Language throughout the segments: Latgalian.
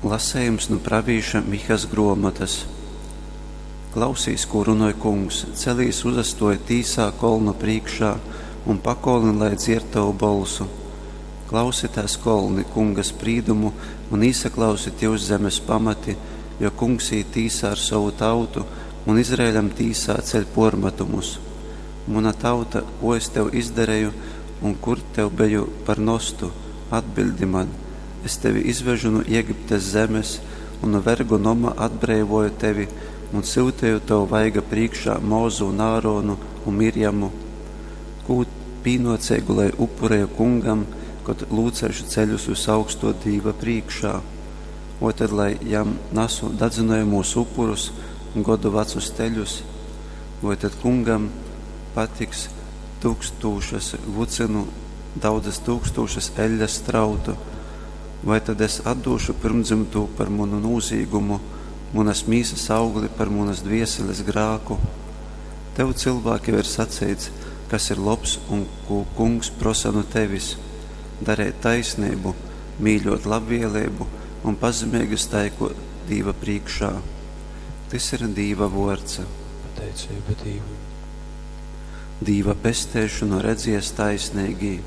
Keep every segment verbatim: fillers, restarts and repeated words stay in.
Lasejums nu pravīša Mihas gruomotys. Klausīs, kū runoj Kungs, celīs uzastuoj tīsā kolnu prīškā un pakolni lai dzierd tovu bolsu. Klausitēs, kolni, Kunga sprīdumu un īsaklausit jyus zemes pamati, jo Kungs īt tīsā ar sovu tautu un Izraeļam tīsā ceļ puormatumus. Muna tauta, ko es tev izdareju un kur tev beju par nostu? Atbildi man! Es tevi izvežu nu Egiptes zemes un nu vergu noma atbreivoju tevi un syuteju tavu vaiga prīškā Mozu un Āronu un Mirjamu. Kū pīnoceigu lai upureju Kungam, kod lūceišu ceļus vysaugstuo Dīva prīškā? Voi tad lai jam nasu dadzynojamūs upurus un godu vacus teļus? Voi tad Kungam patiks tūkstūšas vucynu, daudzas tūkstūšas eļļas strautu? Vai tad es atdūšu pyrmdzymtū par munu nūzīgumu, munas mīsas augli par munas dvieseles grāku? Tev, cilvēk, jau ir saceits, kas ir lobs un kū Kungs prosa nu tevis: dareit taisneibu, mīļuot labvieleibu un pazemeigi staiguot Dīva prīškā. Tys ir Dīva vuords. Pateiceiba Dīvam. Dīva pesteišonu redzies taisneigī.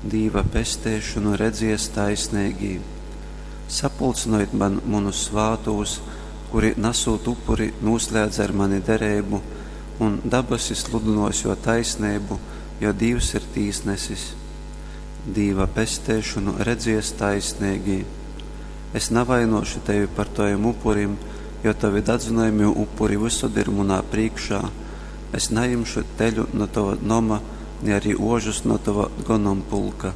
Dīva pesteišonu redzies taisneigī. Sapulcynojit man munus svātūs, kuri, nasūt upuri, nūslēdze ar mani dereibu, un dabasi sludynuos juo taisneibu, jo Dīvs ir tīsnesis. Dīva pesteišonu redzies taisneigī. Es navainuošu tevi par tovim upurim, jo tovi dadzynojamī upuri vysod ir munā prīškā. Es najimšu teļu nu tova noma, ni arī ožus no tova gonompulka.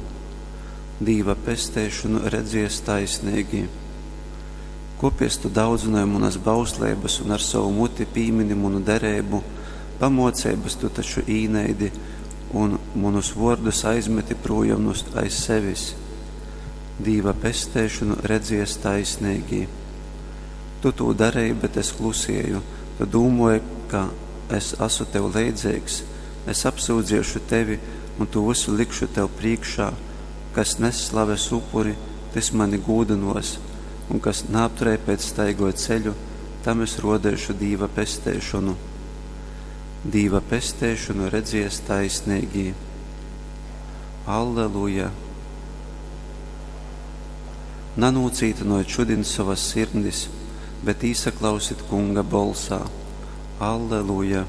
Dīva pesteišonu redzies taisneigī. Kopies tu daudzynoj munas bausleibas un ar sovu muti pīmini munu dereibu, pamuoceibys tu taču īneidi un munus vuordus aizmeti prūjom nu aiz sevis. Dīva pesteišonu redzies taisneigī. Tu tū dareji, bet es klusieju, tu dūmuoji, ka es asu tev leidzeigs, es apsyudziešu tevi un tū vysu likšu tev prīškā, kas nes slaves upuri, tys mani gūdynuos, un kas naaptreipēt staigoj ceļu, tam es ruodeišu Dīva pesteišonu. Dīva pesteišonu redzies taisneigī. Alleluja! Nanūcītynojit šudin sovas sirdis, bet īsaklausit Kunga bolsā. Alleluja!